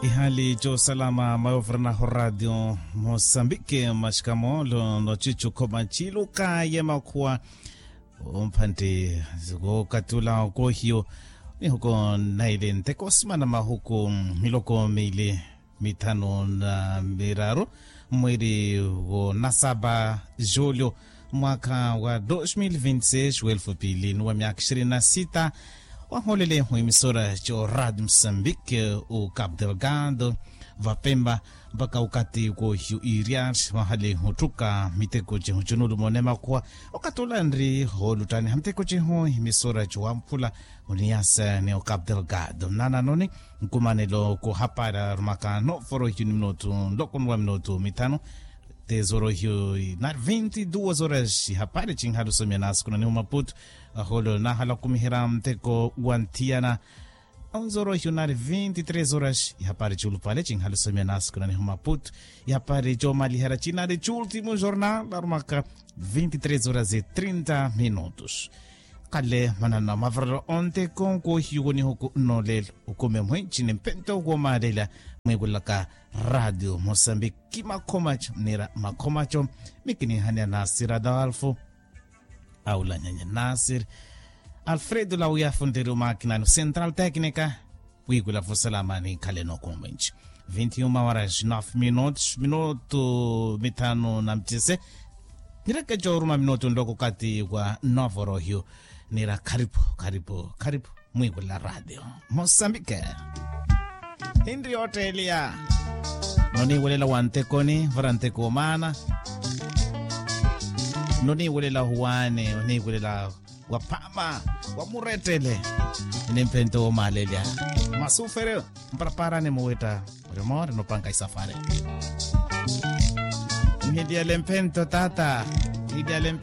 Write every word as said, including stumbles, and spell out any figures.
Ihali cosalama mayovernaho radio mosambike maxikamoolo nochichukhoma chiluka yemakhuwa. Omphantti wokatula okohiyo nihuko naile nteko simana mahuku miloko mili mithanu na miraru mweri wonasaba julio mwaka wa dos mil vinti seis welfu pili nuwa myaka ishirini na sita. Wahoolele mwimisora co radio mosambike u cap delgado vapemba mpaka ukati kwohiyu iriari vahali huttuka miteko cihu cinulumo nemakhuwa. Okatula nri hooluttaniha miteko cihu imisora co wamphula uniyasa ni o cap delgado nnananoni nkumanelo kuhapari arumaka novorohiyu ni minutu nloko nuwa minutu mithanu. Tezorohiyu nari vinti duas horas ihapari cinhalusomya nasukunanihu maputu. Aholo nahala kumiherya nteko wa nthiyana. Onzorohiyu nari vinti tres horas ihapari culupale cinhalusomya nasukunanihu maputu. Ihapari comaliherya cinari cultimo jornal arumaka vinti tres horas e trinta minutos. Kale manana mavarelo onteko nkohiyu wonihuku nnolelo ukumi mwici ni mpento womalelela mwikulaka radio mosambiki makhomaco nira makhomaco. Mikinihania nasir adolfo aulanyanya nasir alfredo lauyafu ntiri umakinani central tecnica. Wikula vusalama nikhaleno kumwenci vinti uma horas nove minutos minutu mithanu na mcese. Nireke coruma minutu nloko kati wa novorohyu nira kharipu kharipu kharipu mwikula radio mosambike. Hinri yotteeliya noniwelela wa ntekoni vara nteko omaana. Noniwelela ohuwaani oniwelela wa phama wa murettele. Ni mphento womaalelya masufere mparaparani muwetta murimo rinopanga isafari. Nhiliyale mphento tata. Nhiliyale